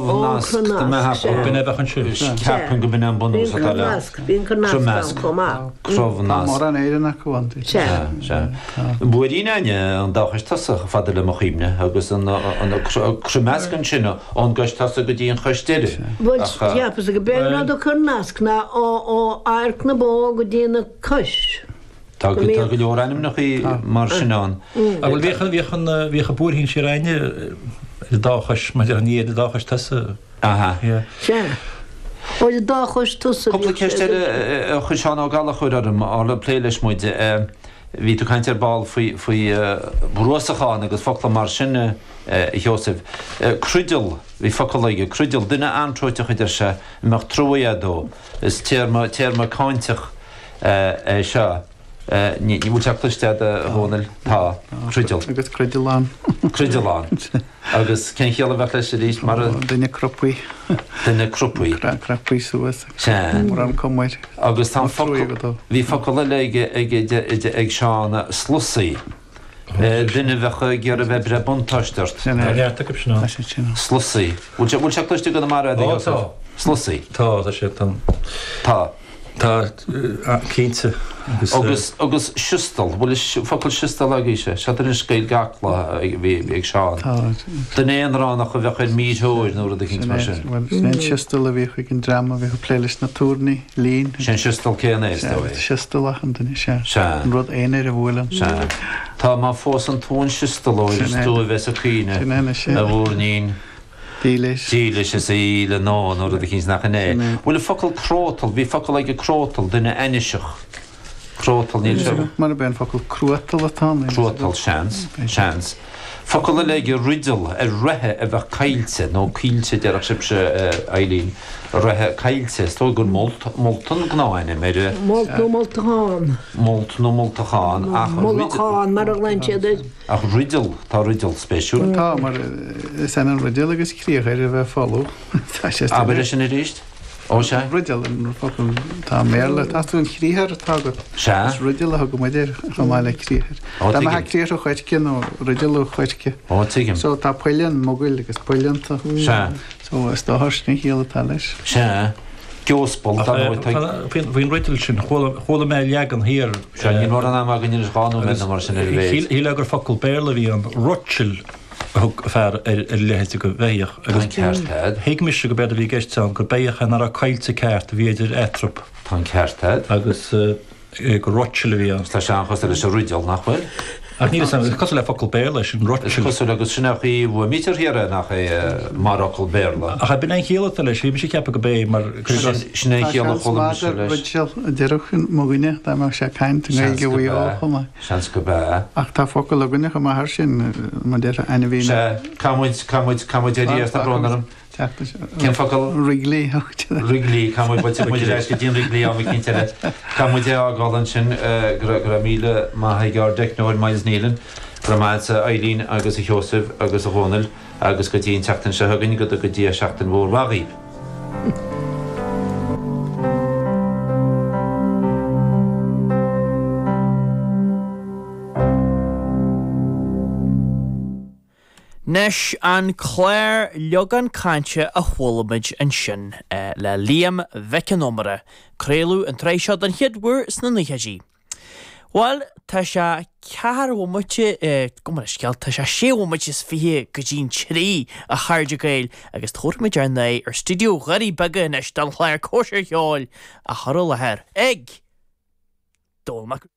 Crobhnasc, dá mbeadh acu. B'in é a bheadh ansin. Ceapaim go b'in é an bunús atá le. Bhí an Crobhnasc ann chomh maith. Crobhnasc. Tá mórán Éireannach acu ann. Sea. Sea. Buairín Aine an dá chois tosaigh, fada le mo chuimhne, agus an Croimeasc ansin ón gcois tosaigh go dtí an chois deiridh. Bhuel, cheapas go b'é an rud a Cornasc ná ó adharc na bó go dtí na cois. Tá go leor ainmneacha mar sin ann. Bhuel, bhíodh an, bhíodh an, bhíodh an buairthín siar Aine ar an dá chois, mar a déarfá, ní ar an dá chois tosaigh. Aha. Sea. Ar an dá chois tosaigh Cúpla bhíodh sé ceist eile a chuir Seán Ó Gallchóir orm, Orla, plé leis muid. Bhí tú ag caint ar ball faoi, faoi bhruasachán agus focla mar sin, a Sheosaimh. Cruideal, bhí focal aige, cruideal, duine anróiteach a deir sé, a mbeadh trua agat dó. Is téarma, téarma cáinteach é seo. Ní, bhfuil sé cloiste agat, a Dhónaill? Tá. Cruideal. Agus cruidealán. Cruidealán. Agus cén chiall a bheadh leis arís? Mar a. Duine crupaí. Duine crupaí. Crapaí suas. Sea. Mórán cuma air. Agus tá an focal, bhí focal eile aige, aige, ag Seán, slusaí. Duine a bheadh ag iarraidh bheith ag breith buntáiste ort. Tá neart acu sin ann. Slusaí. Bhfuil sé, bhfuil sé cloiste i gConamara a Ó, tá. Slusaí. Tá, tá sé, tá. Tá. Tá, cinnte. Agus. Agus, agus siostal, bhfuil an focal siostal agaibhse? Seo anois Gaeilge Acla a bhí ag Seán. Tá. Duine aonránach a bheadh ar míthreoir nó rud eicínt mar sin. Bhuel, sin é an siostal a bhíodh ag an dream a bhíodh ag plé leis na tairní. Lín. Sé an siostal céanna é, is dóigh. Siostal achan duine, sea. Sea. An rud aonair a bhuaileann. Sea. Tá má phósann tú an siostalóir is tú a bheas ag caoineadh, Sin é anois é. a mhúirnín. Dílis. Dílis is í le nó nó rud eicínt nach in é. Sin é. Bhfuil an focal crótal, bhí focal aige crótal, duine ainniseach. Crótal, níl sé. Mar ab é an focal cruatal atá ann. Cruatal, seans. Seans. Focal eile aige, rideal, ar reithe a bheadh caillte, nó caoilte a déarfadh sibhse, a Eileen, reithe caillte. Is dóigh gur molt, molt an gnáthainm ar a. Molt nó moltachán. Molt nó moltachán, ach. Mullachán, mar a ghlaonn siad air. Ach rideal, tá rideal spéisiúil. Tá, mar is ionann rideal agus criathar a bheith folamh. Tá sé. Abair é sin arís. Ó sea. Rideal an focal atá i mBéarla. Tá tú an chriathar atá agat. Sea. Is rideal a thugann muid air chomh maith le criathar. Ó, Dá tuigim. mbeadh criathar ó choirce nó rideal ó choirce. Ó, tuigim. So tá poilleann, mogaill agus poill iontu. Sea. So is dócha sin an chiall atá leis. Sea. Geospal, dar ndóigh, tá. Faoin rideal sin, chuala mé leagan thiar. Sea, níl mórán ama againn anois, 2 nóiméad nó mar sin ar a mhéid. Shílfeá gur focal Béarla a bhí ann, rochil. a thug fear ar a leithéid de bheithíoch Tá an ceart a'd. thuig mise go b'éard a bhí i gceist ann gur beithíoch é nach raibh caillte ceart a bhí idir eatarthu. Tá an ceart a'd. Agus gur rochil a bhí ann. Tá sé an-chosúil leis an rideal, nach bhfuil? Ach níl 'fhios a'm, is cosúil le focal Béarla é sin, rochil. Is cosúil agus sin é an chaoi a bhfuaimnítear thiar é, nach é, mar fhocal Béarla. Ach b'in é an chiall atá leis, bhí mise ag ceapadh go b'é mar. Sin é an Tá chiall a seans chuala maith mise gur leis. rideal a déarfadh mo dhuine dá mbeadh sé ag caint i Seans nGaeilge go Mhaigh Eo b'ea. chomh maith. Seans go b'ea. Ach tá focal againne chomh maith thar sin, mar déarfá ainmhí na. Sea, caithfidh muid, caithfidh muid, caithfidh muid éirí as, tá brón orm. Cén focal? Wrigley. Wrigley, caithfidh muid, bhuel, tiocfaidh muid ar ais go dtí an Wrigley am eicínt eile. Caithfidh muid é a fhágáil ansin. Go raibh, go raibh míle maith ag ár dteicneoir Myles Nealon. Go raibh maith agat a Eileen agus a Sheosaimh agus a Dhónaill agus go dtí an tseachtain seo chugainn, go dtuga Dia seachtain mhór mhaith dhaoibh. Anois, an clár Leagán Cainte a chuala muid ansin le Liam Mhic an Iomaire, craoladh an tsraith seo den chéad uair sna naochaidí. Bhuel, tá sé ceathair bhomaite, gabh mo leithscéal, tá sé sé bhomaite is 20 go dtí'n trí, a chairde Gael, agus tabharfaimid ár n-aghaidh ar stiúideo Dhoirí Beaga anois don chlár Cóisir Cheoil á chur i láthair ag Dónall Mac.